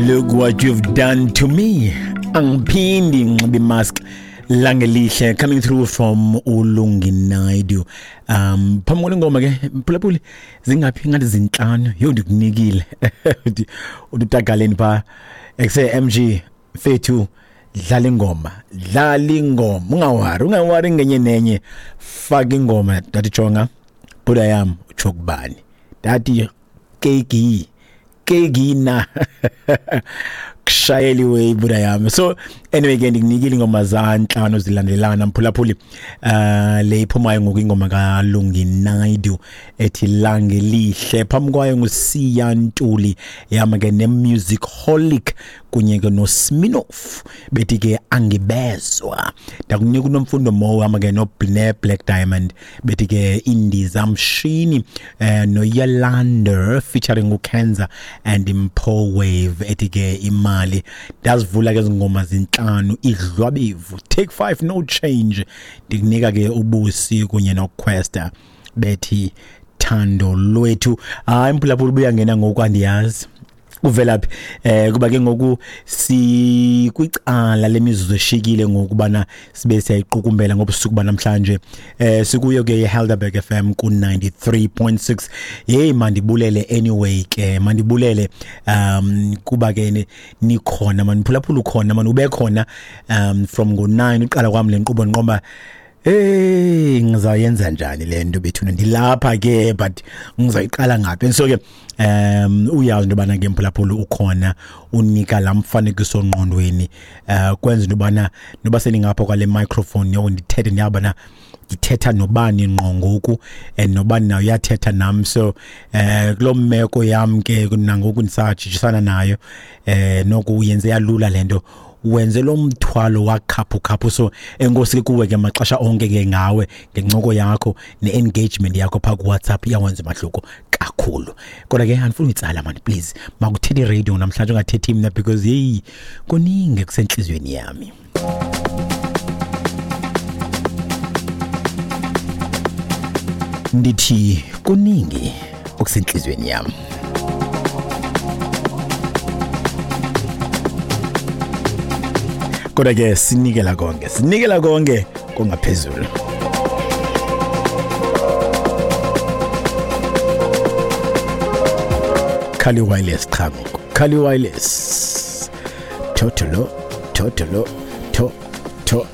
Look what you've done to me. Angiphindi ngixiba imask. Langelihle coming through from uLungi Naidu. Phambi kwale ngoma ke mphulaphuli, zingaphi? Ngathi zinhlanu. Yo, ndikunikile. Uthi utagaleni pha ekuse MG mfethu, dlala ingoma, dlala ingoma, ungawari, ungawari ngenye nenye, faka ingoma. Dathi jonga buda yam, utsho kubani? Dathi keki kekina kushayeliwe ibuda yami. So anyway ke, ndikunikile ingoma zantlanu zilandelana, mphulaphuli. Le iphumayo ngoku ingoma kaLungi Naidu ethi Langelihle. Phambi kwayo nguSiya Ntuli yama ke ne-Music Holic kunye ke noSminoff, bethi ke Angibezwa. Ndakunika uNomfundo Mo hamba ke no Black Diamond, bethi ke Indiza Mshini, noYalander featuring uKenza and Mpo Wave, ethi ke Imali. Ndazivula ke izingoma zinhlanu, idlwabevu, Take 5, No Change. Ndikunika ke uBusi kunye noQuesta, bethi Thando Lwethu. Hayi mphulaphula, ubuya ngena ngoku, andiyazi kuvelaphi, kuba ke ngoku sikwicala lemizuzu eshikile ngokubana sibe siyayiqukumbela ngobusuku banamhlanje. Sikuyo ke iHelderberg FM ku 93.6. Hey, mandibulele anyway ke, mandibulele kuba ke nikhona maniphulaphula, ukhona man, ube khona from ngo9 uqala kwami le nkqubo. Nqomba, hey, ngizayenza njani le nto bethuna? Ndilapha ke, but ngizayiqala ngaphi? So ke uyazi into yobana ke mphulaphula ukhona, unika laa mfanekiso ngqondweni, kwenza into yobana noba seningapha kwale microphone yo ndithethe, ndiyabana ndithetha nobani ngqo ngoku and nobani nayo uyathetha nam. So kuloo meko yam ke nangoku ndisajijisana nayo, noku uyenze yalula le nto, wenze lo mthwalo wakhaphu khaphu. So enkosi ke kuwe ke maxesha onke ke ngawe, ngencoko yakho ne-engagement yakho phaa kuWhatsApp, iyawenza umahluko kakhulu. Kodwa ke andifuni uyitsala mani, please, makuthethe iradio namhlanje, ungathethi mna, because yeyi, kuningi kusentliziyweni yami. Ndithi kuningi okusentliziyweni yami, kodwa ke sinikela konke, sinikela konke kongaphezulu. Khali Wireless, cha ngoku Khali Wireless, totolo totolo to to.